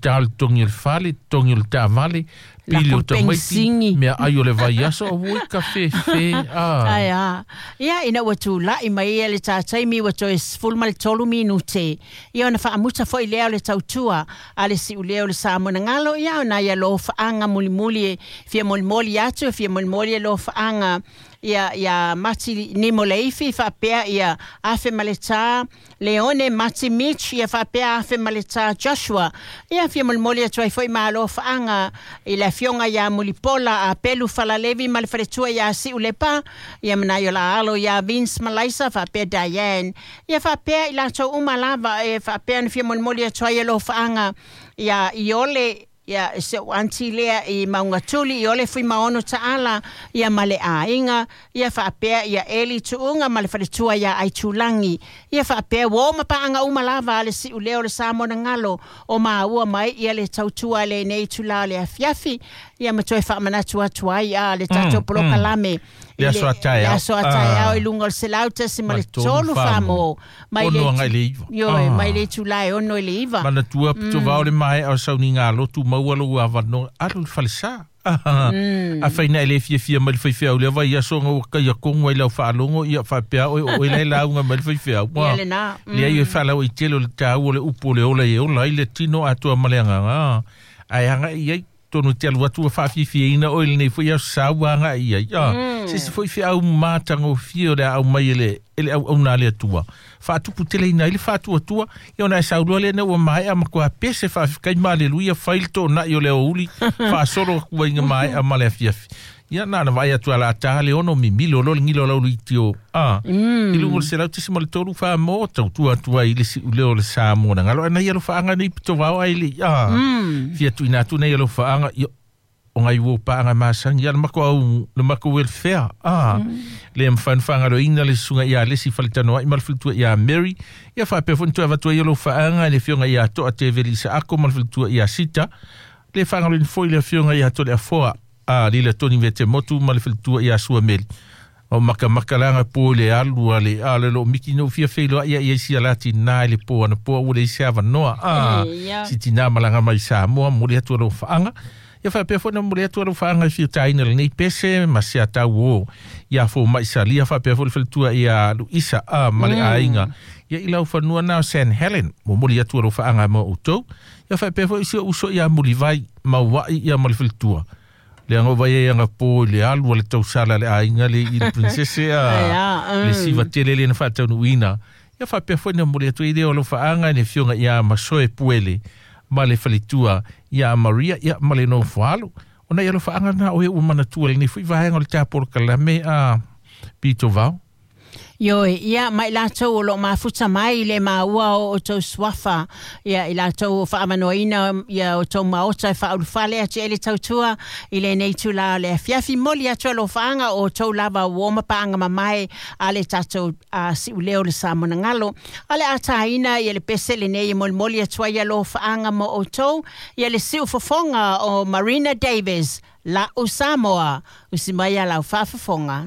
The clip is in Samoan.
Ta le totogi o le fale, totogi o le taavale, pili o tamaiti, meaai o le vaiaso, auoi ka fefe, a. Ae a. Ia, ina ua tulai mai ia le ta taimi ua toe 13 minute, ia ona faamuta foi lea o le tautua a le siuleo o le Samoanagalo, ia ona ia lofaaga mulimuli e fia molimoli atu, e fia molimoli e lofaaga ia ia Mati Nimo Leifi faapea ia Afe Maleta Leone Mati Mitch ia faapea Afe Maleta Joshua ia fia molimoli atu ai foi ma alofaaga i le afioga ia Mulipola a Pelu Falalevi ma le faletua ia Siu Lepa ia manai o la alo ia Vince Malaisa faapea Diane ia faapea i latou uma lava e faapea na fia molimoli atu ai alofaaga ia Iole Ia, si ou aunty lea i Maungatuli, Iole Fuimaono Taala, ia ma le aiga, ia faapea ia Eli Tuuga ma le faletua ia Aitulagi, ia faapea uo ma paaga uma lava a le siuleo o le Samoanagalo o maua mai ia le tautua a lenei itula o le afiafi, ia ma toe faamanatu atu ai a le tatou polokalame Le aso a taeao. Le aso a taeao i luga o le 100.3 Samoa. Mai le agai le 9. Ioe, mai le itula e 6 i le 9. Manatua pito vao le maea o sauniga lotu maua lou avanoa alu i le falesa. Afai na e le fiafia mai le faifeau i lea vaiaso ona ua taia tonu ai lau faalogo ia faapea oe o oe la e lauga mai le faifeau. Ia lena. Leai e faalauaitele o le taua o le upu o le ola e ola ai le tino atoa ma le agaga. Ae agai i ai tonu e te alu atu ua faafiafiaina oe i lenei foi aso sa ua agai i ai. Se isi foi feau matagofie o le a aumai e le, e le auauna a le Atua. Faatuputeleina ai le faatuatua, ia ona e saunoa lea ina ua maea matua pese faafetai ma aleluia fai le toonai o le aoauli faasolo atu ai ina maea ma le afiafi. Ia na ona vaai atu a la ta le ono mimilo loa le gilo o lau luitio a i luga o le 100.3 Samoa tautua atu ai i le siuleo o le Samoa na galo ai nai alofaaga nei pito vao ai le a fia tuuina atu nei alofaaga ia o ngai ua paaga masani ia le matou au le matou welfare a le mafai ona faagaloina le susuga ia Alesi Faletanoai ma le faletua ia Mary ia faapea foi ona toe avatu ai alofaaga i le afioga ia Toa Teveli Isaako ma le faletua ia Sita le faagaloina foi le afioga ia Toleafoa a Lila Toni Vetemotu ma le faletua ia Suameli o makamaka laga po i le alu a le a le loo miki no fia feiloai ia ia sia la tina i le po ana po ua leai se avanoa a si tina malaga mai Samoa momoli atu alofaaga ia faapea foi na momoli atu alofaaga i fiutaina lenei pese ma se atau o ia fo mai salia faapea foi le faletua ia Luisa a ma le aiga ia i lau fanua na o San Helen momoli atu alofaaga mo outou ia faapea foi si ou uso ia Mulivai Mauai ia ma le faletua leaga o vai ai anapo i le alu a le tausala a le aiga le i le princese a le siva tele lea na faataunuuina ia faapea foi na momoli atu ai lea o alofaaga i le afioga ia Masoe Puele ma le faletua ia Maria ia ma le nofoalo o nai alofaaga na o e ua manatua i lenei foi vaega o le tapolokalame a pito vao. Ioe, ia, ma i latou o lo o mafuta mai i le maua o outou suafa, ia, i latou o faaavanoaina ia outou maota e faaulufale atu ai le tautua i lenei itula o le afiafi. Momoli atu alofaaga o outou lava uo ma paaga mamae a le tatou a siuleo o le Samoanagalo. A o le a taina ia le pese lenei e molimoli atu ai alofaaga mo outou, ia le siufofoga o Marina Davis, La'u Samoa, usi mai a lau faafofoga.